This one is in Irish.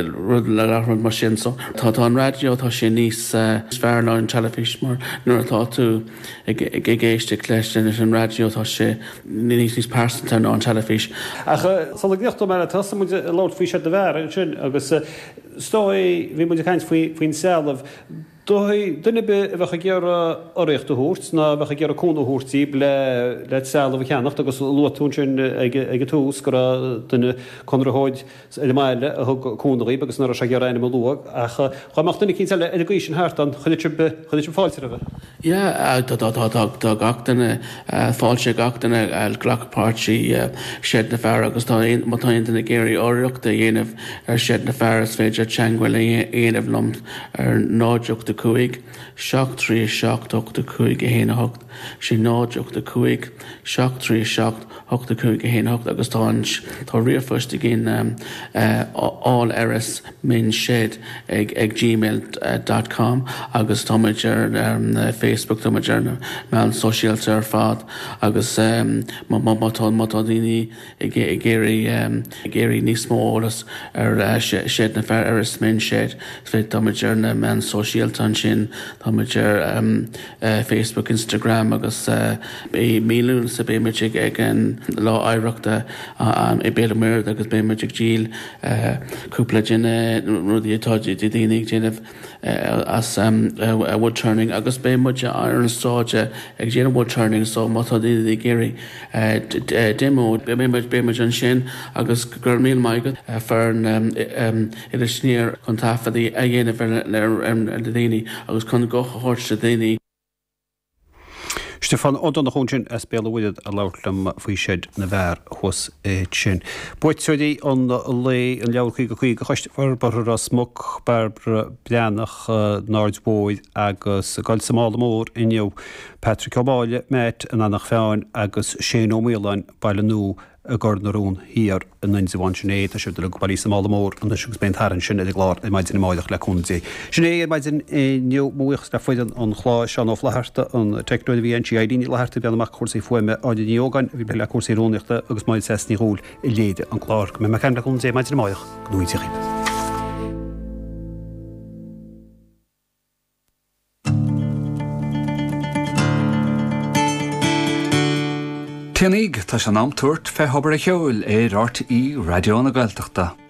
rud le gach rud mar sin. So tá tá an raidió tá sé níos fearr ná an teilifís mar nuair atá tú ag ag éisteacht leis leis an raidió tá sé níos níos pearsanta ná an teilifís. Ach sula gcríochnóidh mé leat, thosaigh muid ag labhairt faoi Seid na bhFear ansin agus is dóigh bhí muid ag caint faoi faoin trealamh. Dóigh, duine ar bith a bheadh ag iarraidh urraíocht a thabhairt ná a bheadh ag iarraidh cúnamh a thabhairt daoibh le le trealamh a cheannacht agus luaigh tú ansin ag ag an tús go raibh duine conraitheoir ar an mbaile a thug cúnamh dhaoibh agus nach raibh sé ag iarraidh a ainm a lua ach dhá mbeadh duine eicínt eile ar an gcaoi sin thart ann chuirfeadh sibh chuirfeadh sibh fáilte roimhe. Yeah, tá tá tá tá tá gach duine fáilte gach duine glacadh páirt i Seid na bhFear agus tá aon má tá aon duine ag iarraidh urraíocht a dhéanamh ar Seid na bhFear is féidir teagmháil a dhéanamh liom ar 0 8 5 7 3 7 8 5 1 8 6 0 8 5 7 3 7 8 5 1 8 agus tá an tá ríomhphost againn all Erris Men's Shed ag ag gmail dot com agus tá muid ar Facebook tá muid ar na meáin sóisialta ar fad agus má má tá má tá daoine ag ag iarraidh ag iarraidh níos mó eolas ar Seid na bhFear Erris Men's Shed tá muid ar na meáin sóisialta ansin tá muid ar Facebook Instagram agus i mí Lúnasa beidh muid ag ag an Lá Oidhreachta i Béal an Mhuirthead agus beidh muid ag díol cúpla de na rudaí atá daoine ag déanamh as wood turning agus beidh muid ar an stáitse ag déanamh wood turning so má tá daoine ag iarraidh demo beidh muid beidh muid ansin agus go raibh míle maith agat foireann Iris Aniar chun taifead a dhéanamh ar na daoine agus chun guth a thabhairt do dhaoine. Stiofán Ó Donnchú ansin as Béal an Mhuirthead ag labhairt liom faoi Seid na bhFear thuas ansin. Buaiteoirí an lae, an leabhar 50 50 Choiste Forbartha Ros Muc, Bairbre Breathnach, an Aird Mhóir agus ag dul sa mála mór inniu, Patrick Ó Máille, Matt, an Eanach Mheáin agus Shane Ó Maoláin, Baile Nua i gCor na Rón Thiar in Indreabhán. Sin é, tá siad uilig bailithe sa mála mór anois agus beidh an tarraingt sin ar an gclár ar maidin amáireach le cúnamh Dé. Sin é ar maidin inniu. Mo bhuíochas le foireann an chláir, Seán Ó Flatharta, an teicneoir a bhí ann, sí Eileen Ní Fhlatharta ag breathnú amach cúrsaí fuaime, Áine Ní Ógáin a bhí ag plé le cúrsaí rúnaíochta agus Máire Treasa Ní Dhubhghaill a léirigh an clár. Go mbeidh mé ag caint le cúnamh Dé maidin amáireach. Go ngnóthaí Dia dhaoibh. Téanaíg, tá sé in am tabhairt fé Thobar a' Cheoil ar RTÉ Raidió na Gaeltachta.